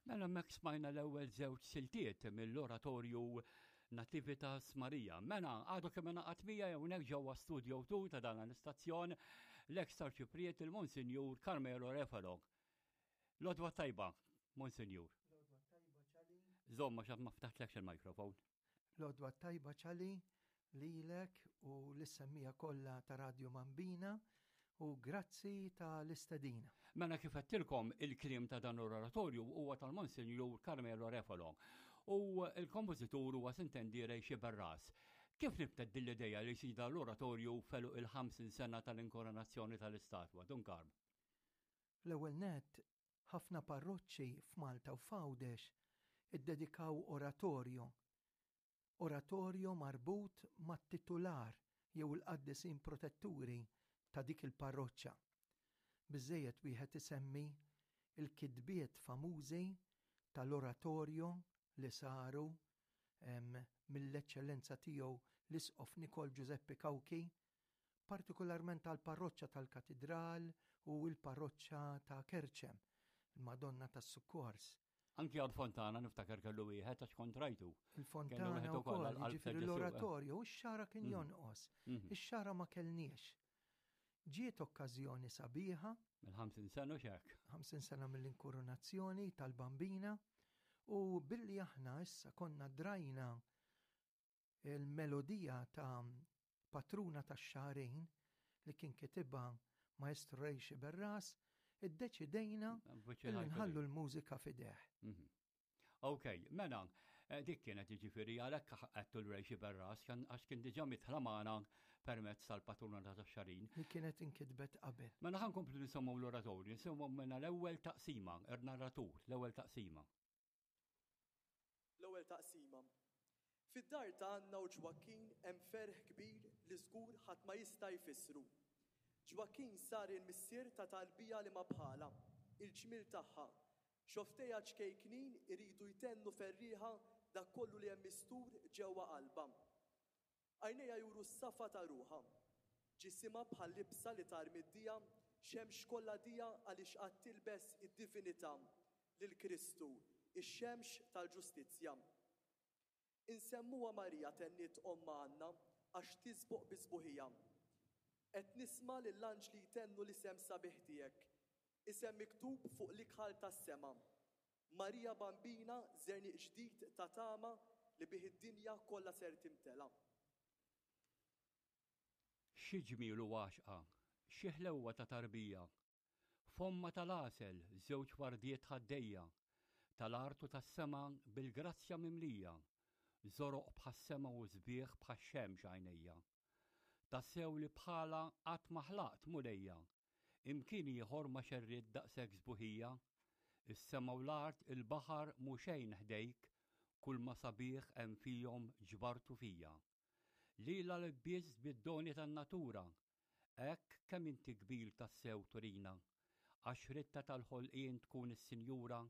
Mela hemmhekk smajna l-ewwel żewġ siltiet mill-oratorju Nativitas Maria. Mela għadu kemm ingħaqad miegħi hawnhekk ġewwa Studio 2 ta' dan l-istazzjon l-eks Arċipriet il-Monsinjur Carmelo Refalo. L-odwa tajba, Monsinjur. L-odwa tajba ċali. Żomma x'għad ma ftaħtlekx il-mikrofon. L-għodwa t-tajba Ċali lilek u lis-semmiegħa kollha ta' Radju Mambina u grazzi ta' l-istedina. Mela kif għedtilkom il-kliem ta' dan l-oratorju huwa tal-Monsinjur Carmelo Refalo u l-kompożitur huwa Sintendiere Xiberras. Kif nibtet din l-ideja li jsir dan l-oratorju f'għeluq il-50 sena tal-inkoronazzjoni tal-istatwa, Dun Karm? L-ewwel nett, ħafna parroċċi f'Malta u f'Għawdex iddedikaw oratorju, oratorju marbut mat-titular jew il-qaddisin protetturi ta' dik il-parroċċa. Biżżejjed wieħed isemmi l-kitbiet famużi tal-oratorju li saru mill-Eċċellenza Tiegħu l-Isqof Nikol Ġużeppi Cauchi partikolarment għall-parroċċa tal-Katidral u l-parroċċa ta' Kerċem, il-Madonna tas-Sukkors. Anki għal Fontana niftakar kellu wieħed għax kont rajtu. Il-Fontana wkoll, jiġifieri l-oratorju, u x-xara kien mhm. jonqos. Mhm. Ix-xara ma kellniex. Ġiet okkażjoni sabiħa. Mill-50 sena xek. 50 sena mill-inkurunazzjoni tal-Bambina u billi aħna issa konna drajna Il-melodija ta' Patruna tax-Xagħrin li kien kitibha Maestro Ray Sciberras, iddeċidejna li nħallu l-mużika f'idejh. Mhm. Ok, mela, eh, dik kienet jiġifieri għalhekk għedtu l-Ray Sciberras għax kien diġà mitħla magħna permezz tal-Patruna tax-Xagħrin. Li kienet inkitbet qabel. Mela ħa nkomplu nisimgħu l-oratorju, nisimgħu mela l-ewwel taqsima, ir-narratur, l-ewwel taqsima. L-ewwel taqsima. Fid-dar ta' Anna u Ġwakkin hemm ferħ kbir li żgur ħadd ma jista' jfissru. Ġwakkin sar il-missier ta' tarbija li ma bħalha, il-ġmiel tagħha. Xofftejha ċkejknin iridu jtennu ferrieħa dak kollu li hemm mistur ġewwa qalbha. Għajnejha juru s-safa ta' ruħha. Ġisimha bħal libsa li tarmi d-dija, xemx kollha dija għaliex għad tilbes id-divinità, lil Kristu, ix-xemx tal-ġustizzja. Insemmuha Marija tenniet ommha Anna għax tisboq bis-sbuħija. Qed nisma' lill-anġli jtennu l-isem sabiħ tiegħek, isem miktub fuq l-ikħal tas-sema. Marija Bambina żerniq ġdid ta' tama li bih id-dinja kollha ser timtela. Xi ġmiel u għaxqa, xi ħlewwa ta' tarbija! Fommha tal-għasel, żewġ wardiet ħaddejja, tal-art u tas-sema bil-grazzja mimlija, żoroq bħas-sema u sbieħ bħax-xemx għajnejja. Tassew li bħalha qatt ma ħlaqt, Mulejja, Imkien ieħor ma xerridt daqshekk sbuħija. Is-sema u l-art, il-baħar mhu xejn ħdejk, kulma sabiħ hemm fihom ġbartu fija. Lilha lbist bid-doni tan-natura, hekk kemm inti kbir tassew turina. Għax ridtha tal-ħolqien tkun is-sinjura,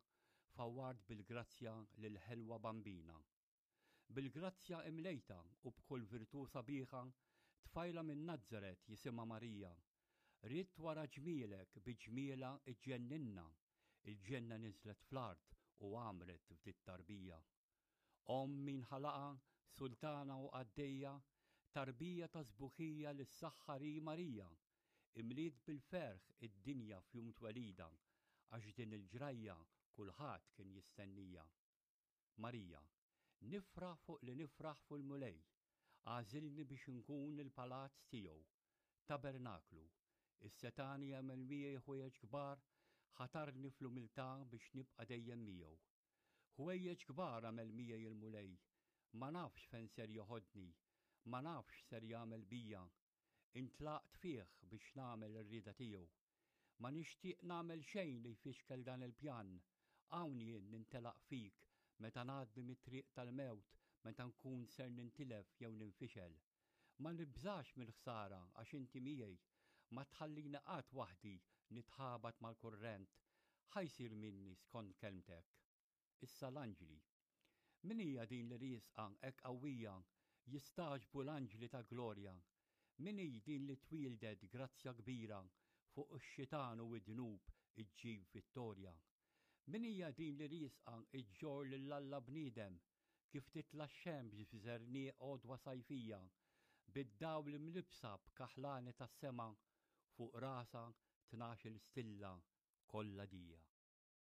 fawwart bil-grazzja lill-ħelwa bambina. Bil-grazzja imlejtha u b'kull virtù sabiħa, tfajla minn Nazaret jisimha Marija. Ridt wara ġmielek bi ġmielha iġġenninna, il-ġenna niżlet fl-art u għammret f'dit-tarbija. Omm min ħalaqha, sultana u qaddejja, tarbija ta' sbuħija li ssaħħar hi Marija. Imliet bil-ferħ id-dinja f'jum twelidha, għax din il-ġrajja kulħadd kien jistennija. Marija, Nifraħ fuq li nifraħ fil-Mulej, għażilni biex inkun il-palazz tiegħu, tabernaklu. Is-Setgħani għamel miegħi ħwejjeġ kbar, ħatarni fl-umiltà biex nibqa' dejjem miegħu. Ħwejjeġ kbar għamel miegħi il-Mulej, ma nafx fejn ser joħodni, ma nafx x'ser jagħmel bija, Intlaqt fih biex nagħmel ir-rieda tiegħu. Ma nixtieq nagħmel xejn li jfixkel dan il-pjan. Hawn jien nintelaq fik meta ngħaddi mit-triq tal-mewt, meta nkun ser nintilef jew ninfixel. Ma nibżax mill-ħsara għax inti miegħi. Ma tħallini qatt waħdi nitħabat mal-kurrent. Ħa jsir minni skont kelmtek. Issa l-anġli. Min hija din li riesqa hekk qawwija, jistagħġbu l-anġli ta' glorja? Min hi din li twieldet grazzja kbira, fuq ix-xitan u d-dnub iġġib vittorja? Min hija din li riesqa ġġorr lil Alla bniedem, kif titla' x-xemx f'żerniq għodwa sajfija, bid-dawl imlibbsa b'kaħlani tas-sema, fuq rasha 12-il stilla kollha dija.